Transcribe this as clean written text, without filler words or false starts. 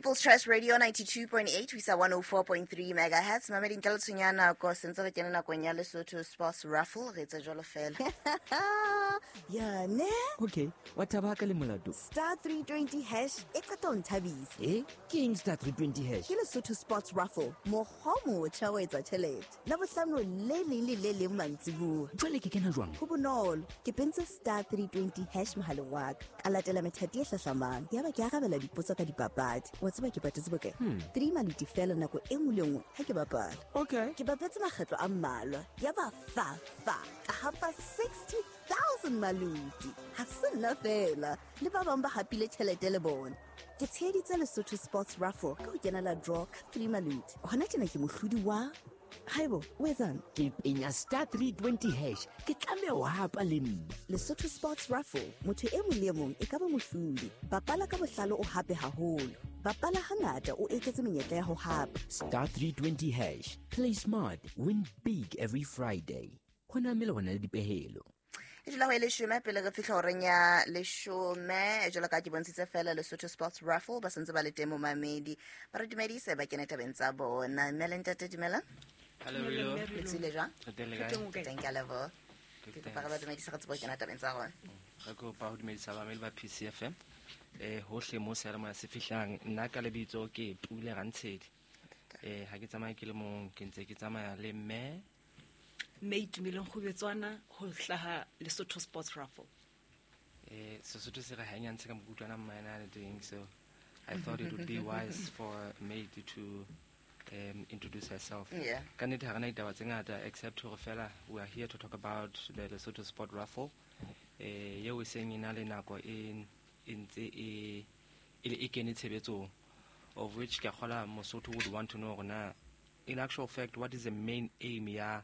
People's Choice Radio 92.8 ho isa 104.3 megahertz. Mamedi, ntle le tshenyo ya nako, sentse re kene nakong ya Lesotho Sports Raffle. Re etsa jwalo fela. Ya ne. Okay, wa thaba ka le molato. *320# e qeta ho nthabisa. E ke eng *320#? Ke Lesotho Sports Raffle, mokgwa o motjha wa etsa tjhelete Labohlano le leng le le leng mantsibuya. Jwale ke kena jwang? Ho bonolo, ke pentse *320# mohaleng wa ka, ka latela methati e hlahlamang, yaba ke arabela dipotso ka dipapadi. Wa tseba ke patetse bokae? Three maluti fela nako e nngwe le nngwe ha ke bapala. Okay. Ke bapetse makgetlo a mmalwa, yaba fa fa ka hapa 60,000 maluti. Ha se nna fela, le ba bang ba hapile tjhelete le bona. Ke tsheheditse Lesotho Sports Raffle ka ho kenela draw ka three maluti. Hona tjena ke mohlodi wa. Haibo, o etsang? Ke penya *320#, ke tlameha ho hapa le nna. Lesotho Sports Raffle, motho e mong le e mong e ka ba mohlodi. Bapala ka bohlale, o hape haholo. Bapala hangata, o eketse menyetla ya ho hapa. *320#, play smart, win big every Friday. Ho na melawana le dipehelo. E dula ho e 10 pele re fihla horeng ya 10. Jwalo ka ke bontshitse fela, Lesotho Sports Raffle ba sentse ba le teng. Momamedi, ba re dumedise, ba kene tabeng tsa bona. Mme le ntate, dumela. Hello, Rilo. Le tswile jwang? Re teng, le kae? Ke teng, ke a leboha. Good, Ke kopa re ba thanks. dumedise, re tsebe ho kena tabeng tsa rona. Re kopa ho dumedisa bamamedi ba PCFM hohle mo seyalemoya se fihlang. Nna ka lebitso ke Pule Rantshedi. Ha ke tsamaye ke le mong, ke ntse ke tsamaya le mme. Mme Itumeleng Kgubetswana, ho hlaha Lesotho Sports Raffle. Sesotho se re ha e nyantshe ka mokutlwana mmaena le teng, so I thought it would be wise for Mate to introduce herself. Ka nnete ha re na ditaba tse ngata except hore fela we are here to talk about the Lesotho Sport Raffle eo e seng e na le nako e ntse e kene tshebetsong, of which ke a kgola Mosotho would want to know hore na in actual fact what is the main aim ya